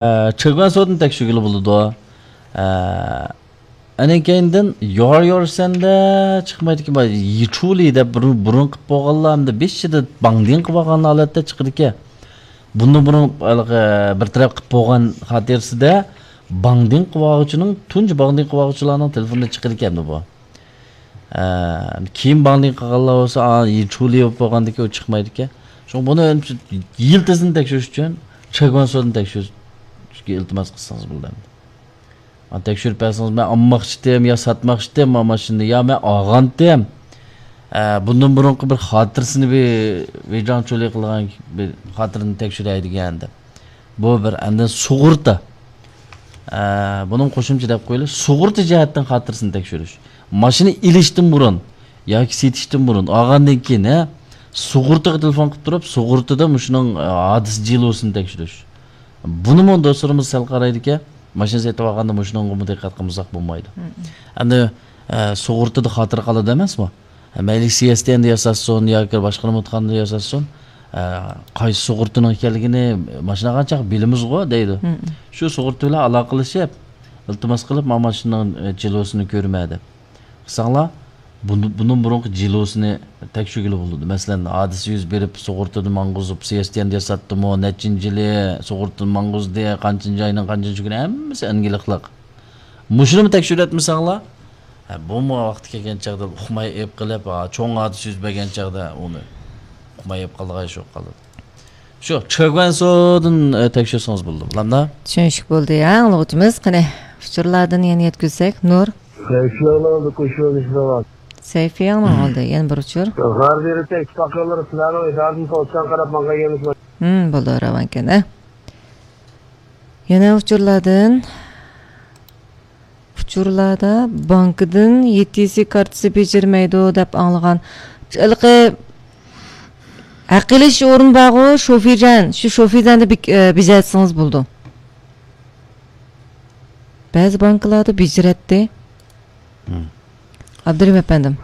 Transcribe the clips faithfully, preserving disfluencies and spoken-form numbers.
چېگۋەنسودىن تەكشۈرگىلى بولىدۇ. ئە، ئەنە كەينىدىن يور يور سەندە چىقمايدىكەن. يىچۇلى دەپ بۇرۇن، بۇرۇن قىلىپ بولغانلار ھەمدە بېشىدا باڭدىڭ قىلىۋالغان ھالەتتە چىقىدىكەن. بۇندىن بۇرۇن ھېلىقى بىر تەرەپ قىلىپ بولغان خاتىرىسىدە باڭدىڭ قىلىۋالغۇچىنىڭ، تۇنجى باڭدىڭ قىلىۋالغۇچىلارنىڭ تېلېفونىدا چىقىدىكەن بۇ. ئە، كېيىن باڭدىڭ قىلغانلار بولسا، ئا، يىچۇلى بولۇپ بولغاندىكىن ئۇ چىقمايدىكەن. شۇڭا بۇنى يىلتىزىنى تەكشۈرۈش ئۈچۈن چېگۋەنسودىن تەكشۈرۈشكە ئىلتىماس قىلسىڭىز بولىدۇ ئەمدى. مانا تەكشۈرۈپ بەرسىڭىز، مەن ئالماقچىتىم يا ساتماقچىتىم ما ماشىنىنى، يا مەن ئالغانتىم. ئە، بۇندىن بۇرۇنقى بىر خاتىرىسىنى بىر ۋېيجاڭچۇلى قىلغان بىر خاتىرىنى تەكشۈرەي دېگەن دەپ. بۇ بىر، ئاندىن سۇغۇرتا. ئە، بۇنىڭ قوشۇمچە دەپ قويىلى، سۇغۇرتا جەھەتتىن خاتىرىسىنى تەكشۈرۈش. ماشىنا ئېلىشتىن بۇرۇن ياكى سېتىشتىن بۇرۇن، ئالغاندىن كېيىن، ھە، سۇغۇرتىغا تېلېفون قىلىپ تۇرۇپ، سۇغۇرتىدا مۇشۇنىڭ، ئە، ھادىسە جىلۋىسىنى تەكشۈرۈش. بۇنىمۇ دوستلىرىمىز سەل قارايدىكەن، ماشىنا سېتىپ ئالغاندا مۇشۇنىڭغىمۇ دىققەت قىلمىساق بولمايدۇ. ئەمدى، ئە، سۇغۇرتىدا خاتىرە قالىدۇ ئەمەسمۇ؟ مەيلى سىيەستەندە ياساتسۇن ياكى باشقا نېمىتقاندا ياساتسۇن، ئە، قايسى سۇغۇرتىنىڭ ئىكەنلىكىنى ماشىنا ئالغان چاغ بىلىمىزغۇ دەيدۇ. شۇ سۇغۇرتا بىلەن ئالاقىلىشىپ، ئىلتىماس قىلىپ، مانا ماشىنىنىڭ، ئە، جىلۋىسىنى كۆرمە دەپ. قىلساڭلار، بۇنى، بۇنىڭ بۇرۇنقى جىلۋىسىنى تەكشۈرگىلى بولىدۇ. مەسىلەن، ھادىسە يۈز بېرىپ، سۇغۇرتىدا ماڭغۇزۇپ، سىيەستەندە ياساتتىمۇ، نەچچىنچى يىلى سۇغۇرتىدا ماڭغۇزدى، قانچىنچى ئاينىڭ قانچىنچى كۈنى، ھەممىسى ئەنگىلىقلىق. مۇشۇنىمۇ تەكشۈرۈۋەتمىسەڭلار، ھە، بۇمۇ ۋاقتى كەلگەن چاغدا ئۇقماي ئېيىپ قىلىپ، ھا، چوڭ ھادىسە يۈز بەرگەن چاغدا ئۇنى ئۇقماي ئېيىپ قالىدىغان ئىش بولۇپ قالىدۇ. شۇ چېگۋەنسودىن، ئە، تەكشۈرسىڭىز بولدى، بولامدا؟ چۈشىنىشلىك بولدى، ھە، ئاڭلىغۇچىمىز. قېنى، ئۇچۇرلاردىن يەنە يەتكۈزسەك، نۇر. سەيفىياڭنىڭ ئالدى قوشۇۋېلىشمىغان. سەيفىياڭنىڭ ئالدى، يەنە بىر ئۇچۇر. غەربىي ئىتتىپاقلىرى سىلەرنىڭ ئىدارىدىن توسچان قاراپ ماڭغان يەرلىك. ھىم، بولدى، راۋانكەن، ھە. يەنە ئۇچۇرلاردىن. ئۇچۇرلاردا بانكىدىن يېتىسى كارتىسى بېجىرمەيدۇ دەپ ئاڭلىغان. ھېلىقى ھەق ئېلىش ئورنى بارغۇ، شوفىجان، شۇ شوفىجاندا بىك-، ئە، بېجەرتسىڭىز بولىدۇ. بەزى بانكىلاردا بېجىرەتتى. ھىم. ئابدۇرېھىم ئەپەندىم.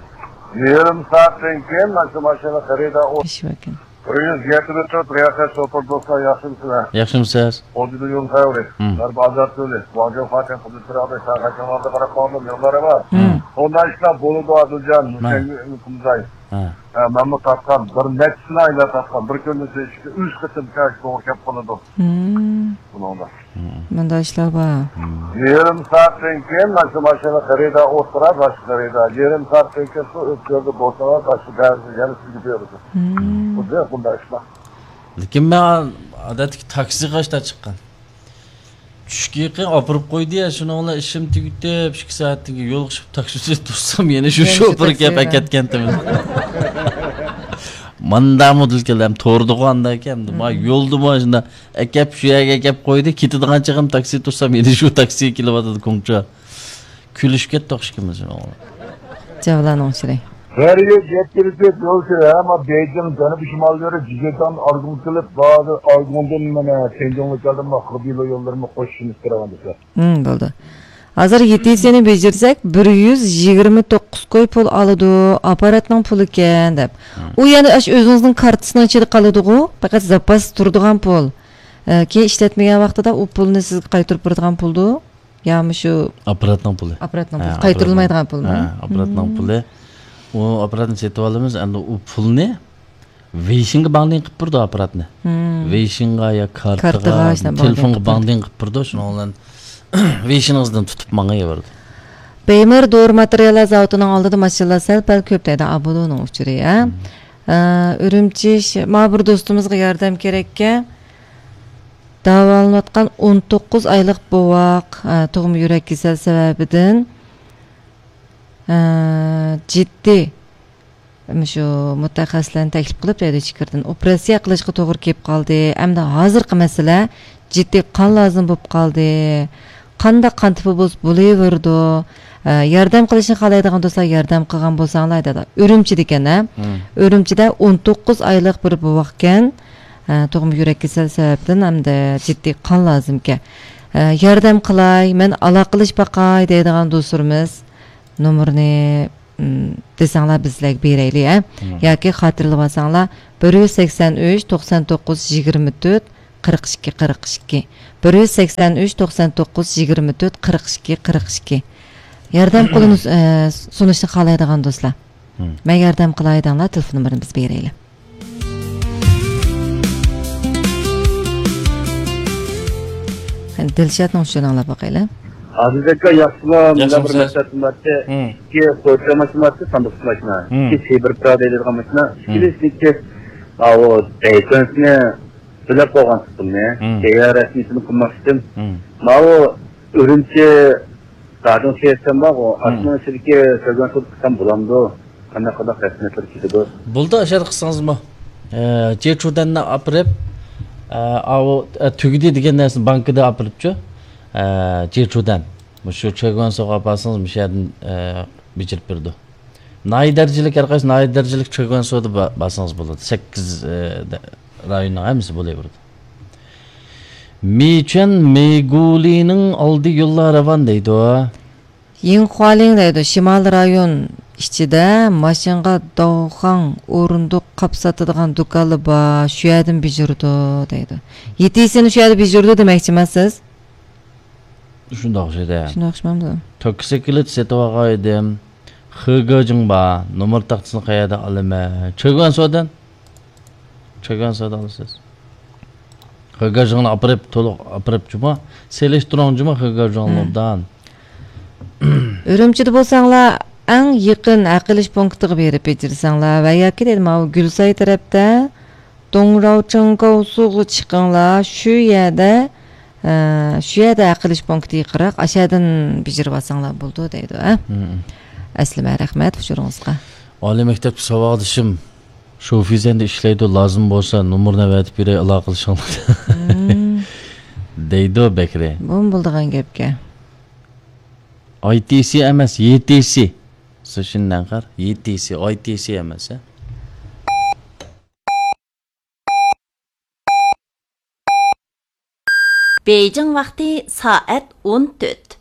يېرىم سائەتتىن كېيىن مانا شۇ ماشىنا خېرىدار ئۇ. ئىش باركەن. بىر يۈز يەتمىش تۆت رىياسەت شوپۇر دوستلار، ياخشىمۇسىلەر؟ ياخشىمۇسىز؟ ئوردىدا يول خەۋىرى. ھىم. غەربىي ئازاد يولى. ۋاڭجۇ فاتىڭ قىزىل چىراغدا شاڭخەي شاڭلاردا قاراپ قالدىم، يوللار ئەمەس. ھىم. ئۇنداق ئىشلار بولىدۇ، ئادىلجان. مەن. مۇشەنگە كۈمزاي. ھە. ھە، مەنمۇ تارتقان. بىر نەچچىسىنى ئايلاپ تارتقان. بىر كۈندە ئۈچ، ئۈچ قېتىم كەش توغرا كەپ قالىدۇ. ھىم. بۇنىڭدا. مۇنداق ئىشلار بار. يېرىم سائەتتىن كېيىن مانا شۇ ماشىنا خېرىدار ئولتۇرار، باشقا خېرىدار. يېرىم سائەتتىن كېيىن شۇ ئۆتكەلدە بولسىڭىز، باشقا بەزى يەنە سىزگە بېرىدۇ. بۇ، بۇنداق ئىشلار. لېكىن مەن ئادەتتىكى تاكسىغا ئاشتا چىققان. چۈشكە يېقىن ئاپىرىپ قويدى يا، شۇنىڭ بىلەن ئىشىم تۈگىتىپ، ئىككى سائەتتىن كېيىن يولغا چىقىپ تاكسى توسسام، يەنە شۇ يەنە شۇ شوپۇر تاكسى كەپ بىلەن ئەكەتكەنتىم. ماندا مودېل كەلدى، ھەم توردىغۇ ئاندا ئىكەن، ما يولدىمۇ شۇنداق ئەكەپ، شۇ يەرگە ئەكەپ قويدى، كېتىدىغان چېغىم تاكسى توسسام، يەنە شۇ تاكسىگە كېلىۋاتىدۇ، كوڭچا. كۈلۈشۈپ كەتتۇق ئىككىمىز شۇنىڭغا. جاۋلانىڭ ئۇچۇرى. غەربىي يەتكۈزۈپ يولچى، ھە، ما بېيجىڭ جەنۇبىي شىمال يولى، جىجيېتاڭ ئارگۇڭ قىلىپ، بازى ئارگۇڭدىن مانا تيەنجۇڭغا كەلدىم، ما خېبېيلۇ يوللىرىمۇ قوشۇشىمىز كېرەك دېسە. ھىم، بولدى. ھازىر يېتىسىنى بېجىرسەك، بىر يۈز يىگىرمە توققۇز كوي پۇل ئالىدۇ، ئاپپاراتنىڭ پۇلىكەن دەپ. ئۇ يەنە ئاشۇ ئۆزىڭىزنىڭ كارتىسىنىڭ ئىچىدە قالىدىغۇ، پەقەت زاپاس تۇرىدىغان پۇل. ئە، كېيىن ئىشلەتمىگەن ۋاقتىدا ئۇ پۇلنى سىزگە قايتۇرۇپ بېرىدىغان پۇلدۇ. يا مۇشۇ ئاپپاراتنىڭ پۇلى. ئاپپاراتنىڭ ھە، پۇلى. قايتۇرۇلمايدىغان پۇلمۇ؟ ھە، ئاپپاراتنىڭ پۇلى. ئۇ ئاپپاراتنى سېتىۋالىمىز، ئەمدى ئۇ پۇلنى ۋېيشىنغا باڭدىڭ قىلىپ بېرىدۇ ئاپپاراتنى. ۋېيشىنغا يا كارتىغا، كارتىغا، شۇنداق تېلېفونغا باڭدىڭ قىلىپ بېرىدۇ، شۇنىڭ بىلەن ۋېيشىنىڭىزدىن تۇتۇپ ماڭا بېرىدۇ. بېيمىر دورا ماتېرىياللار زاۋۇتىنىڭ ئالدىدا ماشىنىلار سەل-پەل كۆپ دەيدۇ، ئابۇدۇنىڭ ئۇچۇرى، ھە؟ ئە، ئۈرۈمچى، ما بىر دوستىمىزغا ياردەم كېرەككەن. داۋالىنىۋاتقان ئون توققۇز ئايلىق بوۋاق، ئە، تۇغما يۈرەك كېسەل سەۋەبىدىن، ئە، جىددىي، مۇشۇ مۇتەخەسسىسلەرنى تەكلىپ قىلىپ، دەيدۇ، ئىچكىرىدىن ئوپېراتسىيە قىلىشقا توغرا كېلىپ قالدى. ئەمدى ھازىرقى مەسىلە جىددىي قان لازىم بولۇپ قالدى. قانداق قان تىپى بولسا بولۇۋېرىدۇ. ئە، ياردەم قىلىشنى خالايدىغان دوستلار ياردەم قىلغان بولساڭلار دەيدۇ. ئۈرۈمچىدىكەن، ھە؟ ئۈرۈمچىدە ئون توققۇز ئايلىق بىر بوۋاقكەن. ئە، تۇغما يۈرەك كېسەل سەۋەبىدىن ھەمدە جىددىي قان لازىمكەن. ئە، ياردەم قىلاي، مەن ئالاقىلىشىپ باقاي دەيدىغان دوستلىرىمىز نومۇرنى، ئىم، دېسەڭلار بىز سىلەرگە بېرەيلى، ھە؟ ياكى خاتىرىلىۋالساڭلار، بىر يۈز سەكسەن ئۈچ، توقسان توققۇز، يىگىرمە تۆت، قىرىق ئىككى، قىرىق ئىككى، بىر يۈز سەكسەن ئۈچ، توقسان توققۇز، يىگىرمە تۆت، قىرىق ئىككى، قىرىق ئىككى. ياردەم قولىنى، ئە، سۇنۇشنى خالايدىغان دوستلار. مم. مەن ياردەم قىلاي دەڭلار، تېلېفون نومۇرىنى بىز بېرەيلى. قېنى، دىلشاتنىڭ ئۇچۇرىنى ئاڭلاپ باقايلى. ئازىز ئاكا، ياخشىمۇ؟ مۇنداق بىر ياخشىمۇ سىز؟ مەسلىھەتىم بارتى. مم. ئىككى پوچا ماشىنا بارتى، ساندۇقچە ماشىنا. مم. ئىككى سېبىر پىرا دەيدىغان ماشىنا. مم. ئىككىلىسىنىڭكى، ئاۋۇ، بەيكۆنسىنى بۆلەپ قويغان تۇتۇمنى. مم. تەييار رەسمىيىتىنى قىلماقچىدىم. مم. ماۋۇ ئۈرۈمچى، دادىڭ سېيىتسەن بارغۇ، مم. ئاشۇنىڭ ئىچىدىكى كۆرگەن سودا قىلسام بولامدۇ؟ قانداق قانداق رەسمىيەتلەر كېتىدۇ؟ بولدى، ئاشۇ يەردە قىلسىڭىزمۇ. ئە، جېچۇدەننى ئاپىرىپ، ئە، ئاۋۇ، ئە، تۈگىدى دېگەن نەرسىنى بانكىدا ئاپىرىپچۇ. ئە، جېچۇدەن. مۇشۇ چۆگۈەنسوغا ئاپارسىڭىز، مۇشۇ يەردىن، ئە، بېجىرىپ بېرىدۇ. ناھىيە دەرىجىلىك، ھەر قايسى ناھىيە دەرىجىلىك چۆگۈەنسودا با-، بارسىڭىز بولىدۇ. سەككىز، ئە، دە-، رايوننىڭ ھەممىسى بولۇۋېرىدۇ. مىچۈەن مېگۇلىنىڭ ئالدى يوللار راۋان دەيدۇ. يىڭخۇالىڭ دەيدۇ، شىمالىي رايون ئىچىدە ماشىنىغا داۋخاڭ ئورۇندۇق قاپ ساتىدىغان دۇكانلار بار، شۇ يەردىن بېجىرىدۇ دەيدۇ. يېتىسىنى شۇ يەردە بېجىرىدۇ دېمەكچىمەن سىز؟ شۇنداق ئوخشايدۇ. شۇنداق ئوخشىمامدۇ؟ توكسىكلىت سېتىۋالغان ئىدىم. خېگېجىڭ بار. نومۇر تاختىسىنى قەيەردىن ئالىمەن؟ چۆگۈەنسودىن. چۆگۈەنسودىن ئالىسىز. خېگېجىڭنى ئاپىرىپ، تولۇق ئاپىرىپ جۇما. سېلىشتۇرۇڭ جۇما خېگېجىڭنى ئوبدان. ئۈرۈمچىدە بولساڭلار، ئەڭ يېقىن ھەق ئېلىش پونكىتىغا بېرىپ بېجىرسەڭلار ۋە ياكى دەيدۇ، ماۋۇ گۈلساي تەرەپتە دوڭراۋچىڭ كاۋسۇغا چىقىڭلار، شۇ يەردە، ئە، شۇ يەردە ھەق ئېلىش پونكىتى يېقىنراق، ئاشۇ يەردىن بېجىرىۋالساڭلار بولىدۇ دەيدۇ، ھە؟ مم. ئەسلىمە، رەھمەت ئۇچۇرىڭىزغا. ئالىي مەكتەپتە ساۋاقدىشىم شوفىزەندە ئىشلەيدۇ، لازىم بولسا نومۇرنى ئەۋەتىپ بېرەي، ئالاقىلىشىڭلار. مم. دەيدۇ بەكرى. بۇمۇ بولىدىغان گەپكەن. ئاي تى سى ئەمەس، يې تى سى. سىشىن نەنخەر، يې تى سى، ئاي تى سى ئەمەس، ھە؟ بېيجىڭ ۋاقتى سائەت ئون تۆت.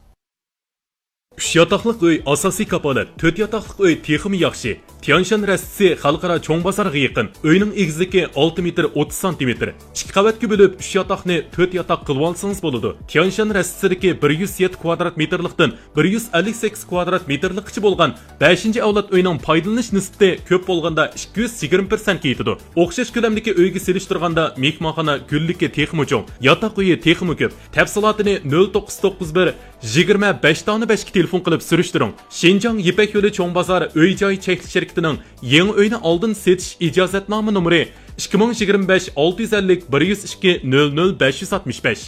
ئۈچ ياتاقلىق ئۆي ئاساسىي كاپالەت، تۆت ياتاقلىق ئۆي تېخىمۇ ياخشى. تيانشان رەستىسى خەلقئارا چوڭ بازارغا يېقىن. ئۆينىڭ ئېگىزلىكى ئالتە مېتىر ئوتتۇز سانتىمېتىر. ئىككى قەۋەتكە بۆلۈپ، ئۈچ ياتاقنى تۆت ياتاق قىلىۋالسىڭىز بولىدۇ. تيانشان رەستىسىدىكى بىر يۈز يەتتە كۋادرات مېتىرلىقتىن بىر يۈز ئەللىك سەككىز كۋادرات مېتىرلىققىچە بولغان بەشىنچى ئەۋلاد ئۆينىڭ پايدىلىنىش نىسبىتى كۆپ بولغاندا ئىككى يۈز يىگىرمە پىرسەنتكە يېتىدۇ. ئوخشاش كۆلەمدىكى ئۆيگە سېلىشتۇرغاندا مېھمانخانا گۈللۈكى تېخىمۇ چوڭ، ياتاق ئۆيى تېخىمۇ كۆپ. تەپسىلاتىنى نۆل توققۇز توققۇز بىر، يىگىرمە بەش دانە بەشكە تېلېفون قىلىپ سۈرۈشتۈرۈڭ. شىنجاڭ يىپەك يولى چوڭ بازار ئۆي جاي چەكلىك شىركىتىنىڭ يېڭى ئۆينى ئالدىن سېتىش ئىجازەتنامە نومۇرى ئىككى مىڭ يىگىرمە بەش ئالتە يۈز ئەللىك بىر يۈز ئىككى نۆل نۆل بەش يۈز ئاتمىش بەش.